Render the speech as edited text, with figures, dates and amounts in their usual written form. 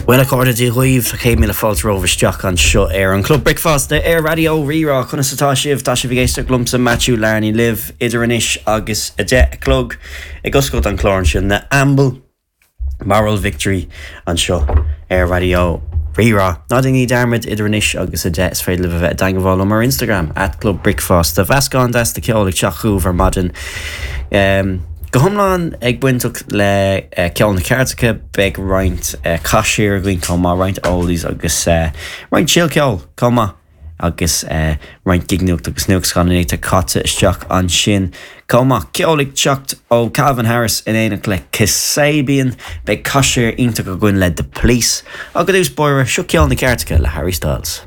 Bhuel a chairde, Dia dhaoibh, 100,000 fáilte romhaibh isteach anseo ar an Club Bricfeasta ar Raidió Rí-Rá. Conas atá sibh? Tá sibh ag éisteacht liomsa, Matthew Larney libh idir anois agus 10 a chlog ag oscailt an chláir ansin, na Amble. Moral Victory anseo ar Raidió Rí-Rá. Ná déanaigí dearmad, idir anois agus 10 is féidir libh a bheith i dteangmháil liom ar Instagram, @clubbricfeasta. Mheascán deas de cheol ag teacht chugaibh ar maidin. Go hiomlán ag bainteach le ceol na gceirdeacha, beidh roinnt caiséir againn chomh maith, roinnt oldies agus roinnt sil-cheoil chomh maith agus roinnt gignuacht agus nuacht scannánaíochta caite isteach ansin chomh maith. Ceol ag teacht ó Calvin Harris in éineacht le Kasabian, beidh caiséir iontach againn le The Police ach i dtús báire, seo ceol na gceirdeacha le Harry Styles.